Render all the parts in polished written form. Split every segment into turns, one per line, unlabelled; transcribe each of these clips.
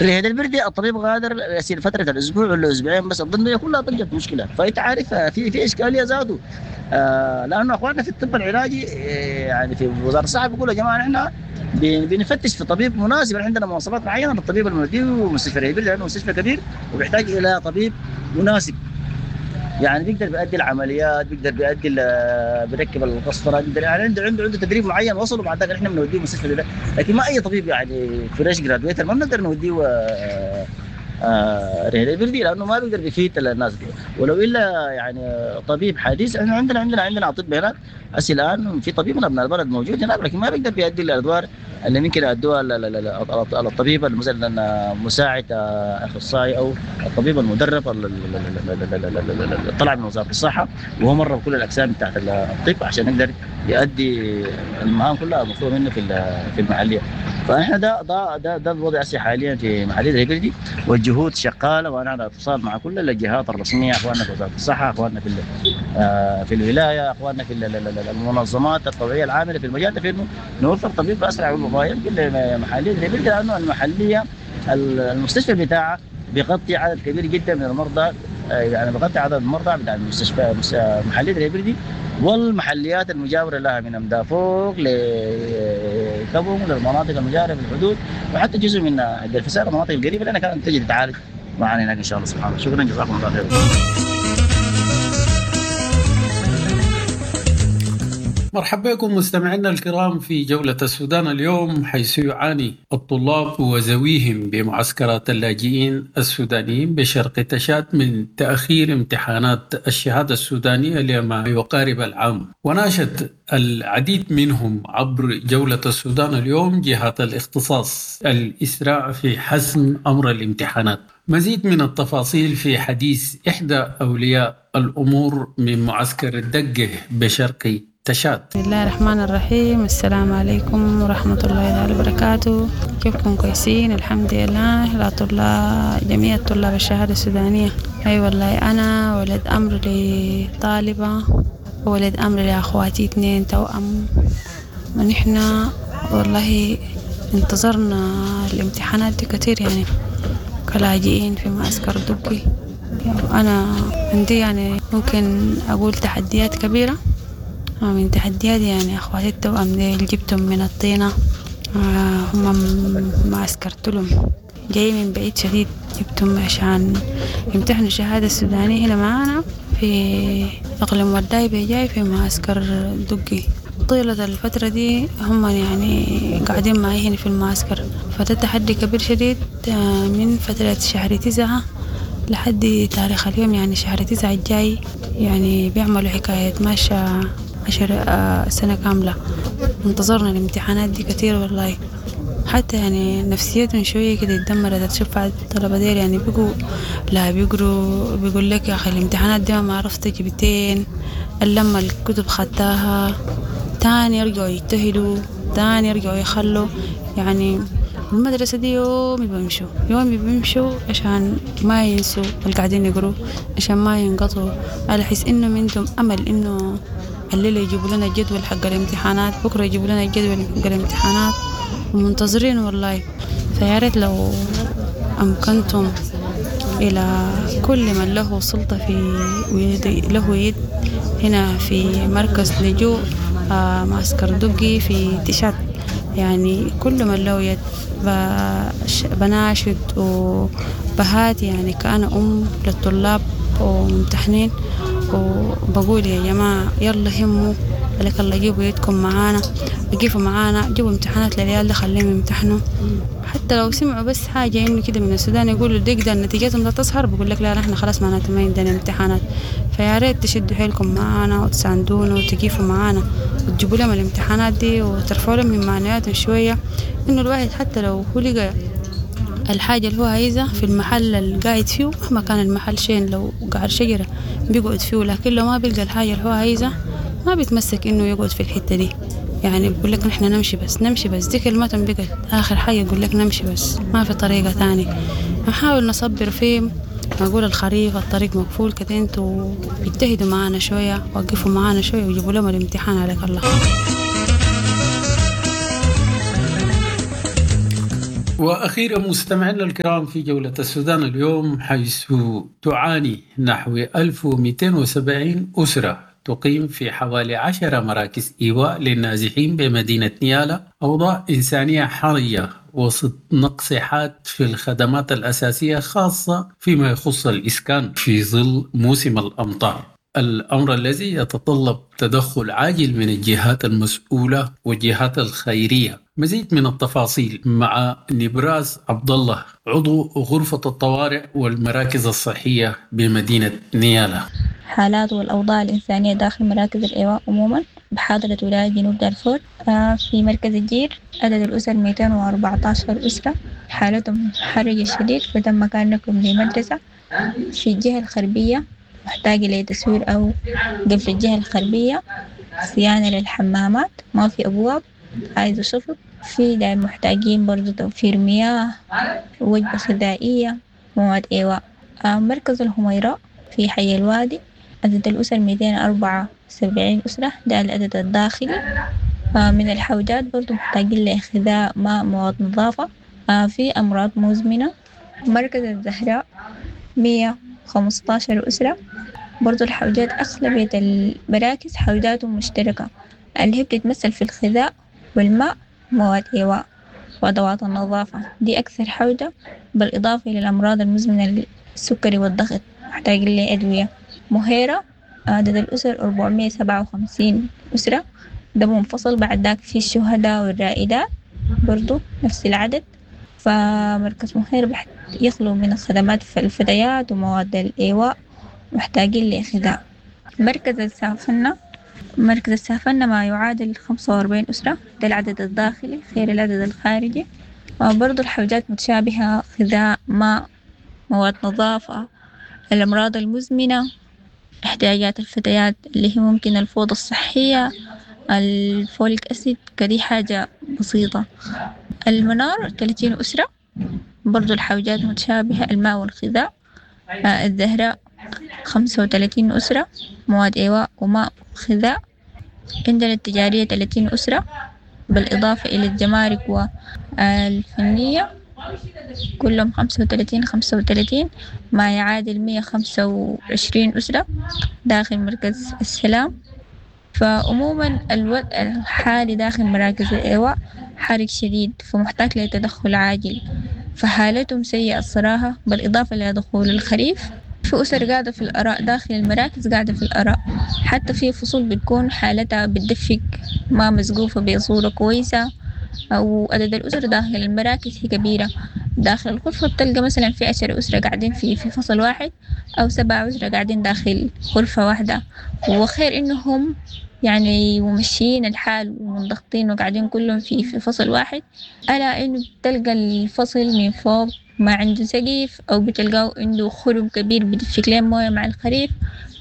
رهيد البردي الطبيب غادر يصير فترة الاسبوع ولا اسبوعين بس، الضمنيه كلها ضجت مشكلة. فانت عارف في اشكالية ذاته، لانه اخواننا في الطب العلاجي يعني في وزارة الصحة بيقولوا يا جماعة نحن بنفتش في طبيب مناسب، عندنا مواصفات معينة للطبيب المودي ومستشفى رهيد البردي لانه مستشفى كبير وبيحتاج الى طبيب مناسب، يعني بيقدر بيأدي العمليات، بيقدر بيأدي بيركب القسطرة، بيقدر يعني عنده تدريب معين وصله، بعد ذاك احنا بنوديه المستشفى ده. لكن ما اي طبيب يعني fresh graduate ما بنقدر نوديه رهيد البردي لانه ما بيقدر بيفيد الناس دي، ولو الا يعني طبيب حديث. احنا عندنا اطباء هناك هسه الان، في طبيب من ابناء البلد موجود هناك، لكن ما بيقدر بيأدي الادوار اللي ممكن يأدوها الطبيب مثلا مساعد اخصائي او الطبيب المدرب اللي طلع من وزارة الصحة وهو مر بكل الاقسام بتاعت الطب عشان يقدر يؤدي المهام كلها المطلوبة منه في المحلية. فاحنا ده ده ده, ده الوضع هسه حاليا في محليه الهبردي، والجهود شغالة وانا على اتصال مع كل الجهات الرسمية، اخواننا في وزارة الصحة، اخواننا في الولاية، اخواننا في المنظمات الطبيعية العاملة في المجال ده، في انه نوفر طبيب باسرع ما يمكن لمحليه الهبردي، لانه المحلية المستشفى بتاعها بيغطي عدد كبير جدا من المرضى، يعني بيغطي عدد المرضى بتاع المستشفى محليه الهبردي والمحليات المجاورة لها من امدافوق لكبوم للمناطق المجاورة في الحدود، وحتى جزء من الفساد المناطق القريبة لنا كانت تجي تتعالج معنا هناك ان شاء الله سبحانه. شكرا، جزاكم الله خير.
مرحبا بكم مستمعينا الكرام في جولة السودان اليوم، حيث يعاني الطلاب وذويهم بمعسكرات اللاجئين السودانيين بشرق تشاد من تأخير امتحانات الشهادة السودانية لما يقارب العام. وناشد العديد منهم عبر جولة السودان اليوم جهات الاختصاص الإسراع في حسم أمر الامتحانات. مزيد من التفاصيل في حديث إحدى أولياء الأمور من معسكر الدقة بشرق تشاد.
بسم الله الرحمن الرحيم. السلام عليكم ورحمة الله تعالى وبركاته. كيفكم؟ كويسين الحمد لله. لا طلاب، جميع طلاب الشهادة السودانية. أي والله أنا ولد أمر لطالبة وولد أمر لأخواتي 2 توأم، ونحن والله انتظرنا الامتحانات دي كتير يعني كلاجئين في معسكر دقي. أنا عندي يعني ممكن أقول تحديات كبيرة، من تحديات يعني أخواتي التوأم دي اللي جبتهم من الطينة، هم معسكر تلم جاي من بعيد شديد، جبتهم عشان يمتحنوا الشهادة السودانية هنا معانا في إقليم وداي بجاي في معسكر دقي. طيلة الفترة دي هم يعني قاعدين معي هنا في المعسكر، فده تحدي كبير شديد من فترة شهر 9 لحد تاريخ اليوم، يعني شهر 9 الجاي يعني بيعملوا حكاية ماشية 10 سنة كاملة. انتظرنا الامتحانات دي كتير والله، حتى يعني نفسيتهم شوية كده اتدمرت. تشوف بعض الطلبة ديل يعني بيقوا لا بيقروا، بيقول لك يا أخي الامتحانات دي ما عرفت جبتين، لما الكتب خدتها تاني يرجعوا يجتهدوا، تاني يرجعوا يخلوا. يعني المدرسة دي يوم بيمشوا، يوم بيمشوا عشان ما ينسوا اللي قاعدين يقروا، عشان ما ينقطوا، على حس إنه عندهم أمل إنه الليلة يجيبوا لنا الجدول حق الامتحانات، بكرة يجيبوا لنا الجدول حق الامتحانات، ومنتظرين والله. فيا ريت لو أمكنتم إلى كل من له سلطة في له يد هنا في مركز لجوء معسكر دقي في تشاد، يعني كل من له يد بناشد وبهات، يعني كأنا أم للطلاب وممتحنين، وبقول يا جماعة يلا هموا لك الله، جيبوا يدكم معانا، جيبوا معانا، جيبوا امتحانات للعيال ده خليهم يمتحنوا. حتى لو سمعوا بس حاجة إنه كده من السودان يقولوا ديك ده نتيجتهم لا تظهر، بقول لك لا نحن خلاص معناته ما عندنا امتحانات. فيا ريت تشدوا حيلكم معانا وتساندونا وتقيفوا معانا وتجيبوا لهم الامتحانات دي وترفعوا لهم من معنوياتهم شوية، إنه الواحد حتى لو هو لقى الحاجة اللي هو عايزها في المحل اللي قاعد فيه، مهما كان المحل شين لو قعر شجرة بيقعد فيه، لكن لو ما بيلقى الحاجة اللي هو عايزها ما بيتمسك إنه يقعد في الحتة دي. يعني بيقول لك نحن نمشي بس، نمشي بس، دي كلمتهم بقت آخر حاجة، يقول لك نمشي بس، ما في طريقة تاني. نحاول نصبر فيه، نقول الخريف الطريق مقفول كده، انتوا اجتهدوا معانا شوية، وقفوا معانا شوية وجيبوا لهم الامتحان عليك الله.
واخيرا مستمعينا الكرام في جولة السودان اليوم، حيث تعاني نحو 1270 أسرة تقيم في حوالي 10 مراكز إيواء للنازحين بمدينة نيالا أوضاع إنسانية حرجة وسط نقص حاد في الخدمات الأساسية، خاصة فيما يخص الإسكان في ظل موسم الأمطار، الأمر الذي يتطلب تدخل عاجل من الجهات المسؤولة والجهات الخيرية. مزيد من التفاصيل مع نبراس عبد الله، عضو غرفة الطوارئ والمراكز الصحية بمدينة نيالا.
حالات والأوضاع الإنسانية داخل مراكز الإيواء عموما بحاضرة ولاية جنوب دارفور. في مركز الجير عدد الأسر 214 أسرة، حالتهم حرجة شديد فتم مكانكم لمدرسة. في الجهة الغربية محتاجة لتسوير أو قفل الجهة الغربية، صيانة للحمامات، ما في أبواب، عايزة شفط. في دايما محتاجين برضو توفير مياه، وجبة غذائية، مواد إيواء. مركز الهميراء في حي الوادي عدد الأسر 274 أسرة، ده العدد الداخلي. من الحوجات برضو محتاجين لغذاء، ماء، مواد نظافة. في أمراض مزمنة. مركز الزهراء 115 أسرة، برضو الحوجات أغلبية المراكز حوجاتهم مشتركة اللي هي بتتمثل في الغذاء والماء، مواد إيواء وأدوات النظافة، دي أكثر حوجة، بالإضافة إلى الأمراض المزمنة السكري والضغط محتاجين لأدوية. مهيرة عدد الأسر 457 أسرة، ده منفصل. بعد ذاك في الشهداء والرائدات برضو نفس العدد. فمركز مهيرة يخلو من الخدمات في الفتيات ومواد الإيواء، محتاجين لغذاء. مركز السافنة، مركز السافنة ما يعادل 45 أسرة، ده العدد الداخلي غير العدد الخارجي. برضو الحوجات متشابهة، غذاء، ماء، مواد نظافة، الأمراض المزمنة، احتياجات الفتيات اللي هي ممكن الفوضى الصحية، الفوليك أسيد، كدي حاجة بسيطة. المنار 30 أسرة، برضو الحوجات متشابهة، الماء والغذاء. الزهراء 35 أسرة، مواد إيواء وماء وغذاء. عندنا التجارية 30 أسرة، بالإضافة إلى الجمارك والفنية كلهم 35 35، ما يعادل 125 أسرة داخل مركز السلام. فعموما الوضع الحالي داخل مراكز الإيواء حرج شديد، فمحتاج لتدخل عاجل، فحالتهم سيئة الصراحة. بالإضافة إلى دخول الخريف، في أسر قاعدة في الأراء داخل المراكز، قاعدة في الأراء، حتى في فصول بتكون حالتها بتدفق ما مسقوفة بصورة كويسة، أو عدد الأسر داخل المراكز هي كبيرة. داخل الغرفة بتلقى مثلا في 10 أسرة قاعدين في فصل واحد، أو 7 أسرة قاعدين داخل غرفة واحدة. وخير إنهم يعني ممشيين الحال ومنضغطين وقاعدين كلهم في فصل واحد، ألا إنه بتلقى الفصل من فوق ما عنده سقيف، أو بتلقاه عنده خرم كبير بتفك لهم موية مع الخريف.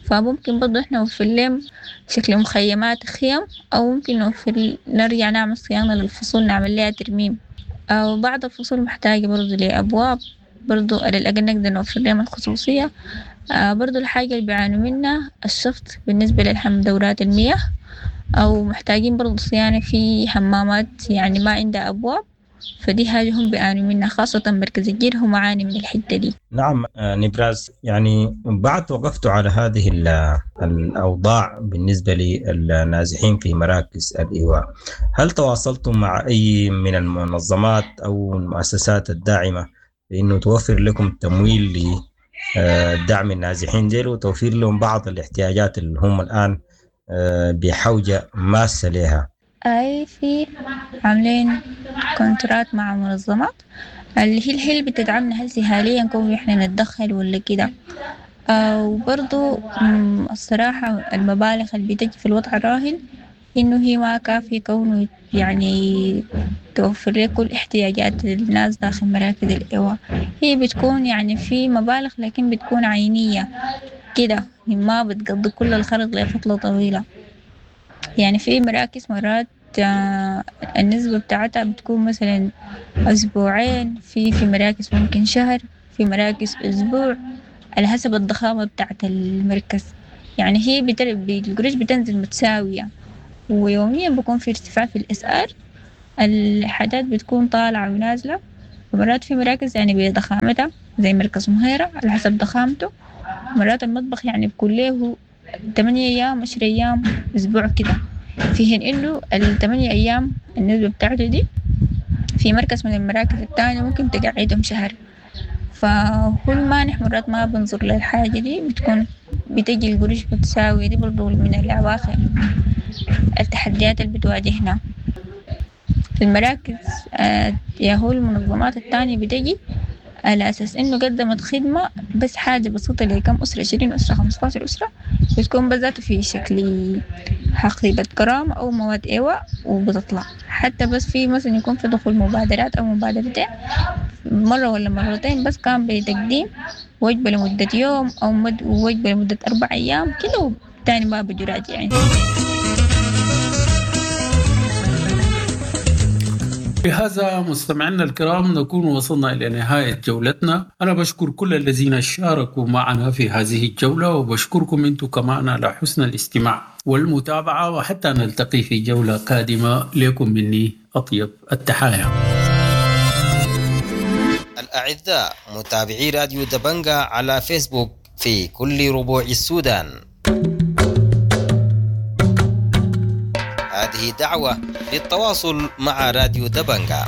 فممكن برضو إحنا نوفر لهم شكل مخيمات خيم، أو ممكن نوفر نرجع نعمل صيانة للفصول، نعمل لها ترميم. أو بعض الفصول محتاجة برضو لأبواب، برضو على الأقل نقدر نوفر لهم الخصوصية. برضو الحاجة اللي بيعانوا منها الشفط بالنسبة للحم دورات المياه، أو محتاجين برضو صيانة في حمامات يعني ما عندها أبواب، فدي حاجة هم بيعانوا منها، خاصة مركز الجير هم عاني من الحتة دي.
نعم نبراس، يعني بعد وقفت على هذه الأوضاع بالنسبة للنازحين في مراكز الإيواء، هل تواصلتم مع أي من المنظمات أو المؤسسات الداعمة بأنه توفر لكم تمويل لدعم النازحين ديل وتوفير لهم بعض الاحتياجات اللي هم الآن بحوجة ماسة لها؟
أي في عاملين كونترات مع منظمات اللي هي الهيل بتدعمنا هسي حاليا كون إحنا نتدخل ولا كده. وبرضو الصراحة المبالغ اللي بتجي في الوضع الراهن إنه هي ما كافية كونه يعني توفر لك كل احتياجات الناس داخل مراكز الإيواء. هي بتكون يعني في مبالغ لكن بتكون عينية كده، ما بتقضي كل الخرق لفترة طويلة. يعني في مراكز مرات النسبة بتاعتها بتكون مثلا أسبوعين، في مراكز ممكن شهر، في مراكز أسبوع، على حسب الضخامة بتاعت المركز. يعني هي القروش بتنزل متساوية، ويوميا بيكون في ارتفاع في الأسعار، الحاجات بتكون طالعة ونازلة. ومرات في مراكز يعني بضخامتها زي مركز مهيرة على حسب ضخامته، مرات المطبخ يعني بكون له 8 أيام 10 أيام أسبوع كده، في حين إنه ال8 أيام النسبة بتاعته دي في مركز من المراكز التانية ممكن تقعدهم شهر. فهو المانح مرات ما بنظر للحاجة دي، بتكون بتجي القروش بتساوي دي برضو من العواقب التحديات اللي بتواجهنا المراكز. يا هو المنظمات التانية بتجي على أساس إنه قدمت خدمة بس حاجة بسيطة لكم أسرة، 20 أسرة 15 أسرة، بتكون بذاته في شكل حقيبة كرامة أو مواد إيواء وبتطلع. حتى بس في مثلا يكون في دخول مبادرات أو مبادرتين مرة ولا مرتين بس، كان بتقديم وجبة لمدة يوم أو وجبة لمدة 4 أيام كده، وتاني ما بيجوا راجعين.
بهذا مستمعينا الكرام نكون وصلنا إلى نهاية جولتنا. أنا بشكر كل الذين شاركوا معنا في هذه الجولة، وبشكركم أنتم كمان على حسن الاستماع والمتابعة، وحتى نلتقي في جولة قادمة. لكم مني أطيب التحايا.
الأعزاء متابعي راديو دبنجا على فيسبوك في كل ربوع السودان، هذه دعوة للتواصل مع راديو دبنجا.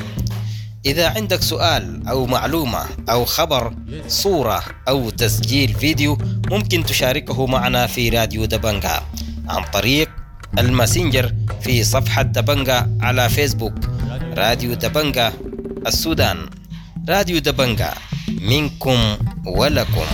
إذا عندك سؤال أو معلومة أو خبر، صورة أو تسجيل فيديو، ممكن تشاركه معنا في راديو دبنجا عن طريق الماسنجر في صفحة دبنجا على فيسبوك، راديو دبنجا السودان. راديو دبنجا منكم ولكم.